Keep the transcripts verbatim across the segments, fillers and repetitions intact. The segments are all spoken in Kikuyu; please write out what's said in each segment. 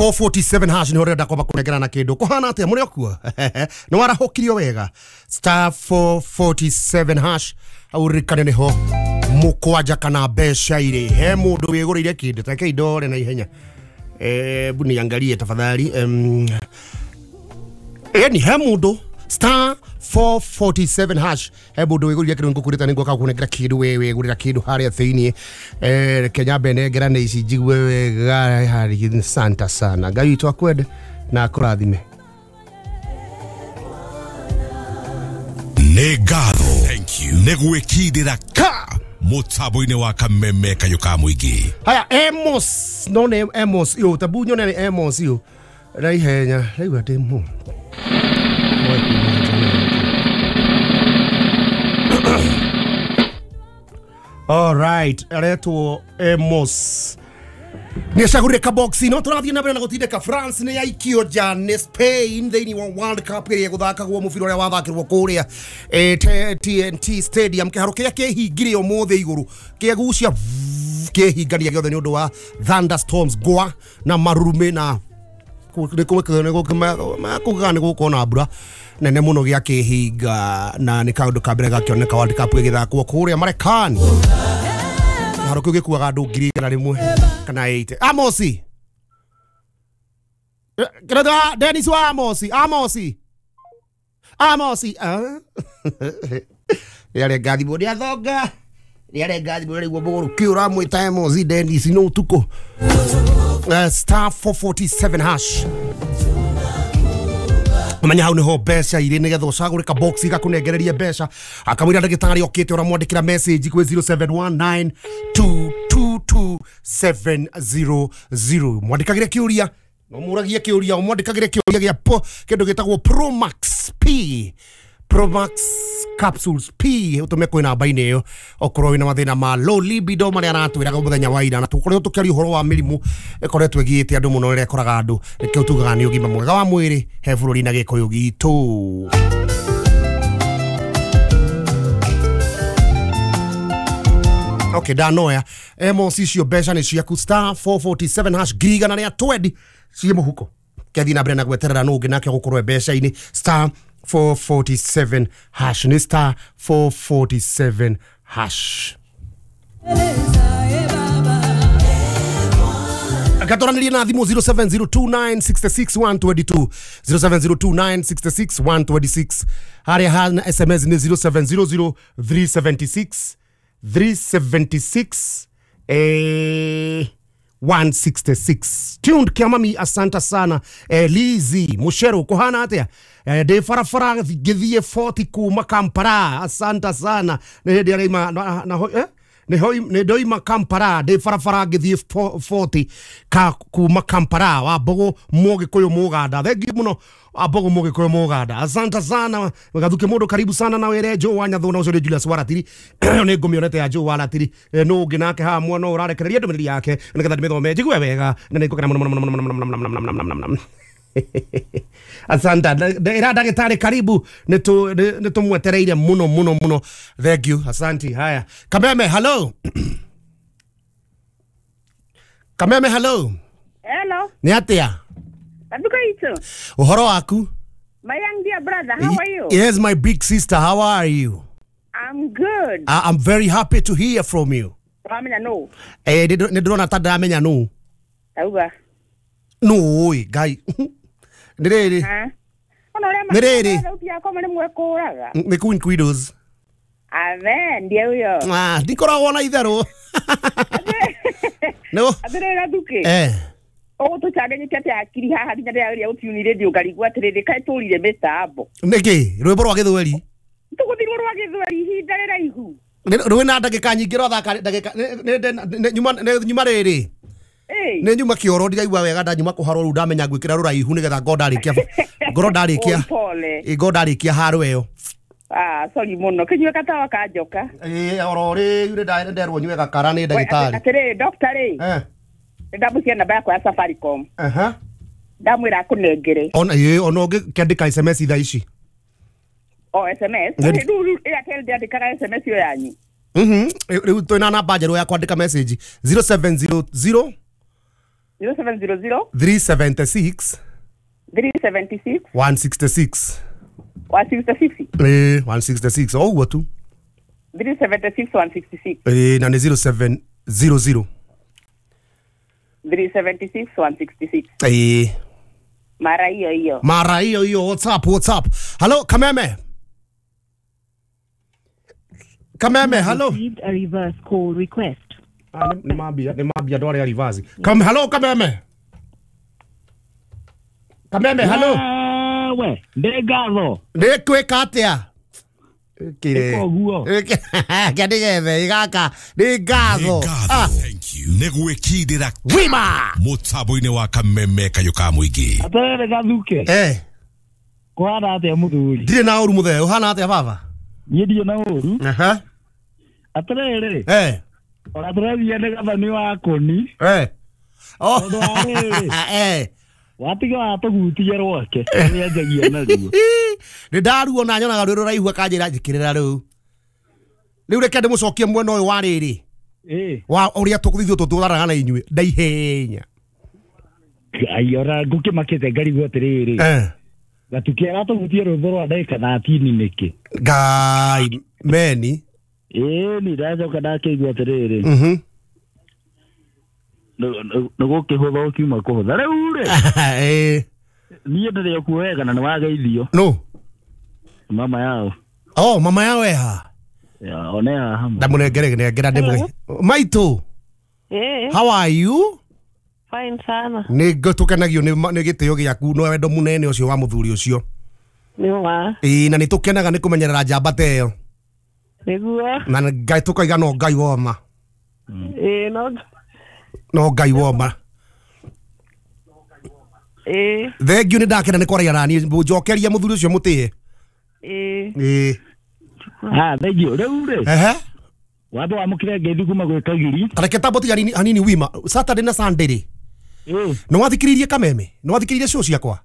four forty-seven hash nä renda kwamba kũnengerana kĩndũ kũhana atĩa mũrĩ okuo nĩ warahũkirio wega star four forty-seven hash hau ririkane nĩho mũkwanja kana mbeca irĩ he mũndũ wĩgũrĩire kĩndũ take indore na ihenya hebu niangalie tafadhali um, yani he mũndũ star four forty-seven hash he mũndũ wĩgũrĩire kĩndũ ngũkũrĩta nĩ ngũka kũnengera kĩndũ we wĩgũrĩra kĩndũ harĩa thĩinĩ eh Kenya benengera nĩ ici njigue wega harĩ santa sana Ngai witũ akwende na akũrathime. Nĩ ngatho nĩ gwĩkindĩra ka mũtambo-inĩ wa Kameme kayũ ka mũingĩ. Haya Amos no nĩ Amos yo tabu nyone nĩ Amos yo na ihenya raigua ndĩ mu All right, aretwo Amos nä acagårire kaboxi no tå rathiä na mbere na gå tindäka France nä yaikio nja nä Spain thä inä wa World Cup ä rä a gå thakagwo må bira å rä a wathakä rwo kå rä a T N T Stadium kä haro kä rä a kä hingire å må thä igå rå kä gucia kä hingania gä othe nä å ndå wa thunderstorms ngwa na marurumä na kuga nä gå korwo na mbura nene må no gä a kä hinga na nä kaå ndå ka mbere gakĩoneka World Cup ä gä thakwo kå rä a Marekani kĩharo kĩu gĩkuaga andũ ngiri igana rĩmwe kana eighty. Amosi kĩrĩa Dennis wa Amosi Amosi Amosi rĩarĩ ngathimũ nĩ athonga rĩarĩ ngathimũ rĩguo mũgũrũki ũramwĩta Amosi Dennis no ũtukũ. Star four forty-seven hash menya hau niho mbeca irĩ nĩgetha ũcagũre kabox gakũnengererie mbeca akamwĩra ndagĩtarĩ okĩte ũramwandĩkĩra message kwĩ zero seven one nine two two two seven zero zero mwandĩkagĩre kĩũria no mũragie kĩũria ũmwandĩkagĩre kĩũria gĩa kĩndũ gĩtagwo Promax P Promax capsules P utume kwĩ namba-inĩ ĩyo okorwo wĩna mathĩna ma low libido marĩa aratwĩraga mũthenya wa ira na tũkoretwo tũkĩaria ũhoro wa mĩrimũ ĩkoretwo ĩgiĩte andũ mũno ĩrĩa ĩkoraga andũ nĩkĩo tugaga nĩ ũgima mwega wa mwĩrĩ he bũrũri na gĩkũyũ gitũ. Okay, ndanoya Amos icio mbeca nĩ ciaku star four forty-seven hash ngiri igana rĩa twenty ciĩ mũhuko kĩathiĩ na mbere na gweterera nũ ũngĩ nake ũgũkorwo mbeca-inĩ star four forty-seven hash ni star four forty-seven hash. Akatoranirie na thimũ zero seven zero two nine six six one two two zero seven zero two nine six six one two six harĩa hana S M S ni zero seven zero zero three seven six three seven six eh one sixty-six. Tuned Kiamami, asante sana. Eh, Lizi Mushero kuhana atia eh, de farafara githie forty kuma Kampala, asante sana. Ne de na na, na eh ne hoi ne doima Kampala de farafara githie forty ka kuma Kampala wa bogo Mogikuyu Muganda. Thank you muno abogo Mogikuyu Muganda, asante sana. Gathuke mundu karibu sana na were Joe wa Nyathuna ucio ni Julius Waratiri ni ngumionete ya Joe Waratiri no ungi nake ha mwana urarekereria ndumiriri yake nigetha ndimithome njigue wega na ningũkena muno muno muno muno muno muno muno muno. Asante ira ndagĩtarĩ karibu nĩ tũmwetereire muno muno muno. Thank you, asante. Haya Kameme, hello. Kameme, hello. Hello. Nĩ atĩa? Adukaito. Uhoro waku? My young dear brother, how are you? Yes, my big sister, how are you? I'm good. I, I'm very happy to hear from you. Wamenya no. Eh, nĩ ndĩrona ta ndamenya no. Tauga. No, oi, Ngai. Nĩ rĩrĩ. Nĩ rĩrĩ. Nĩ Queen Quidos. Amen, ndiye huyo. Ah, ndikoragwo na itherũ. No. Atĩrĩrĩ Gathuke. Eh. Ũgũtũcanganyĩte atĩa hakiri haha nginya ndĩrageria gũtiuni radio ngarigwo atĩrĩrĩ kaĩ tũrire mĩtambo. Nĩkĩ? Rwĩmbo rwa gĩthweri? Tũgũthirwo rwa gĩthweri ihinda rĩraihu. Rwĩ na ndagĩka nyingĩ rwathaka ndagĩka nyuma rĩrĩ. Nĩ nyuma kĩoro ndiraigua wega ndanyuma kũharwo rĩu ndamenya ngwĩkĩra rũraihu nĩgetha ngorwo ndarĩkia ngorwo ndarĩkia ngorwo ndarĩkia haro ĩyo. Ah, sorry mũno kĩnyue gatawa ka njoka. Ĩĩ oro rĩu nĩ nderwo nyue gakara nĩ ndagĩtarĩ. Atĩrĩrĩ doctor rĩ. Eh. Ndamũcia namba yakwa ya Safaricom. Aha. Ndamwĩra akũnengere. Ona ĩĩ ona ũngĩkĩandĩka S M S thaa ici. O S M S. Rĩu Airtel ndĩandĩkaga S M S ĩyo yanyu. Mhm. Rĩu twĩna namba njerũ ya kwandĩka message zero seven zero zero zero seven zero zero three seventy six three seventy six one sixty six one sixty six eh one sixty six o ũguo tu three seventy six one sixty six eh na nĩ zero seven zero zero three seventy six one sixty six eh mara hiyo hiyo mara hiyo hiyo. What's up, what's up? Hello Kameme, Kameme, hello. Received a reverse call request. Ah, nĩ nĩ mambia nĩ mambia andũ arĩa reverse. Kam hello Kameme, Kameme, hello. We ndĩ ngatho nĩ kwĩka atĩa kire Ũguo. kĩanĩgethe gaka nĩ ngatho. Ah, Thank you. Nĩ gwĩkindĩra wima mũtambo-inĩ wa kameme kayũ ka mũingĩ. Atĩrĩrĩ gathuke eh kũhana atĩa mũthuri? Ndirĩ na ũru mũthee, ũhana atĩa baba? Niĩ ndirĩ na ũru. Aha. Atĩrĩrĩ eh ona tũrathiĩ nĩ gathani wa kũni eh oh Tondũ wa rĩrĩ eh watiga watũgutia rwake nĩanjagia naruo. Nĩ ndaruo na nyonaga rwĩ rũraihu akanjĩra njĩkĩrĩra rĩu rĩu reke ndĩmũcokie mwena ũyũ wa rĩrĩ Ĩ wa ũrĩa tũkũthithio tũtũraraga na inyuĩ ndaihenya. Ai ona ngũkĩmakĩte ngarigwo atĩrĩrĩ eh gatuke aratũgutia rwĩmbo rwa ndagĩka thatini nĩkĩ? Ngai meni Ĩ ni ndacoka ndakĩigua atĩrĩrĩ mhm nĩ gũkĩhũtha ũkiuma kũhũtha rĩu rĩ eh niĩ ndĩrĩ okuo wega na nĩwageithio no mama yao. Oh mama yao eha Ya, one haha ndamũnengere nengera ndĩmũge maitũ. Eh, How are you? fine sana. Nĩ tũkenagio nĩ nĩ gĩtĩo gĩaku na wendo mũnene ũcio wa mũthuri ũcio. Nĩ wa. Ĩĩ na nĩ tũkenaga nĩ kũmenyerera njamba ta ĩyo. Nĩguo. Na Ngai tũkaiga no Ngai woma. Ĩĩ no No Ngai woma. Ĩĩ. Thengiũ nĩ ndakena nĩ kwaria na niĩ njokeria mũthuri ũcio mũtĩe. Ĩĩ. Ĩĩ. Ah, thengiũ rĩu rĩ Ehe. wambe wamũkĩre ngeithi kuma gwĩ Kagiri. Reke tambo tiga hanini hanini wima Saturday na Sunday rĩ Ĩĩ. nĩ wathikĩrĩirie Kameme? Nĩ wathikĩrĩirie show ciakwa?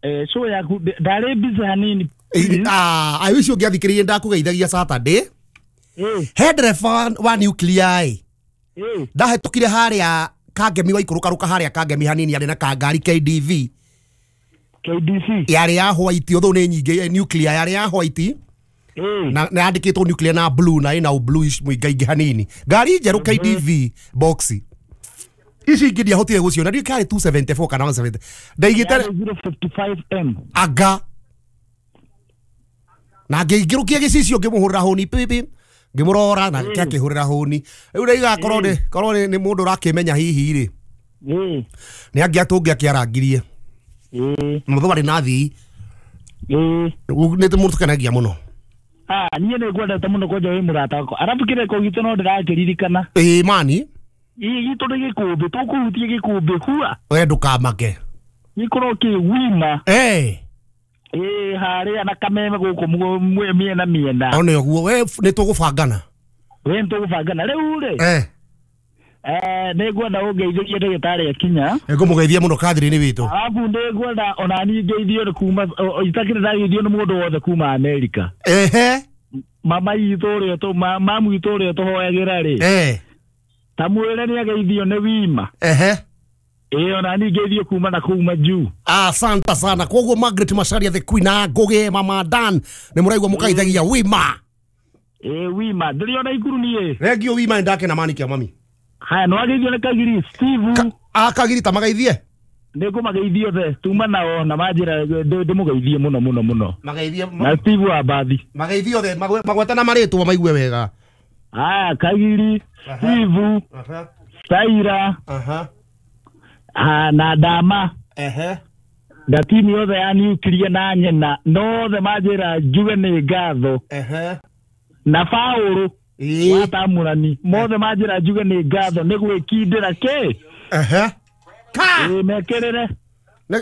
Eh, show yaku ndarĩ busy hanini. Ĩĩ, ah I wish ũngĩathikĩrĩirie ndakũgeithagia Saturday. Ĩĩ. He ndereba wa nuclear ĩ Ĩĩ. ndahĩtũkire harĩa Kangemi waikũrũkarũka harĩa Kangemi hanini arĩ na kangari K D V K D C yarĩ ya white ũthũ nĩ nyingĩ nuclear yarĩ ya white Ĩĩ. na na yandĩkĩtwo nuclear na blue na ĩna bluish mũingaingĩ hanini ngari njerũ K D V box ici ingĩ ndiahotire gũciona ndiũ kĩarĩ two seventy four kana one seventy ndaigĩte Yarĩ zero fifty five M anga na ngĩingĩrũkia gĩcicio ngĩmũhũrĩra hũni pipi ngĩmũrora na akĩhũrĩra hũni rĩu ndaiga korwo nĩ korwo nĩ mũndũ ũrakĩmenya hihi rĩ Ĩĩ. nĩ angĩatũngĩ akĩarangirie Ĩĩ. mũthũ warĩ na thii Ĩĩ. nĩ mũndũ tũkenagia mũno. Ah, niĩ nĩ ngwendete mũno kwanja wĩ mũrata wakwa arabu kĩrĩko gitũ no ndĩrakĩririkana. Ĩĩ mani Ĩĩ gitũ nĩ gĩkũmbĩ tũkũhutie gĩkũmbĩ hua we ndũkamake gĩkorwo kĩ wima. Eh Ĩĩ harĩa na Kameme gũkũ mĩena mĩena one ũguo we nĩ tũgũbangana. We nĩ tũgũbangana rĩu rĩ eh eh nĩ ngwenda ũngeithĩrie ndagĩtarĩ akinya. Ngũmũgeithia mũno Catherine witũ. Arabu nĩ ngwenda ona niĩ ngeithio nĩ kuma itakĩrĩ ndageithio nĩ mũndũ wothe kuma Amerika. Ehe. Mama itũ ũrĩa tũ mamu itũ ũrĩa tũhoyagĩra rĩ eh ta mwĩre nĩ ageithio nĩ wima. Ehe. Ĩĩ ona niĩ ngeithio kuma na kũu majuu. Asante sana koguo Margaret Macharia the Queen a Ngugi mama Dan nĩ mũraigua mũkaithagia wima. Ĩĩ wima ndĩrĩ ona ikuru niĩ. Rengio wima ndake na mani kia mami. Haya no ageithio nĩ Kagiri Steve. A Kagiri ta magaithie Nĩ ngũmageithia othe tuma nao na manjĩra ndĩmũgeithie mũno mũno mũno. Mageithie na Steve wa Mbathi. Mageithie othe magwete na marĩtwa maigue wega. Haya Kagiri Steve Aha. Saira Aha. Ah, na Dama. Ehe. Na timu yothe ya nuclear na nyina nothe manjĩra njuge nĩ ngatho. Ehe. Na Paũlũ Ĩĩ. wa Tamũrani mothe manjĩra njuge nĩ ngatho nĩ gwĩkindĩra kĩ. Ehe. Ka. Ĩĩ mekĩrĩre. Nĩ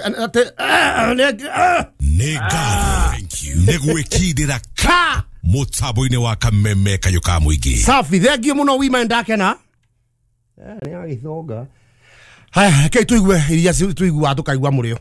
Nĩ ngatho. Thank you. Nĩ gwĩkindĩra ka mũtambo-inĩ wa Kameme kayũ ka mũingĩ. Safi thengiũ mũno wima ndakena. Eh nĩ agĩthonga. Haya, reke tuigue iria tuiguaga tukaigua mũrĩo.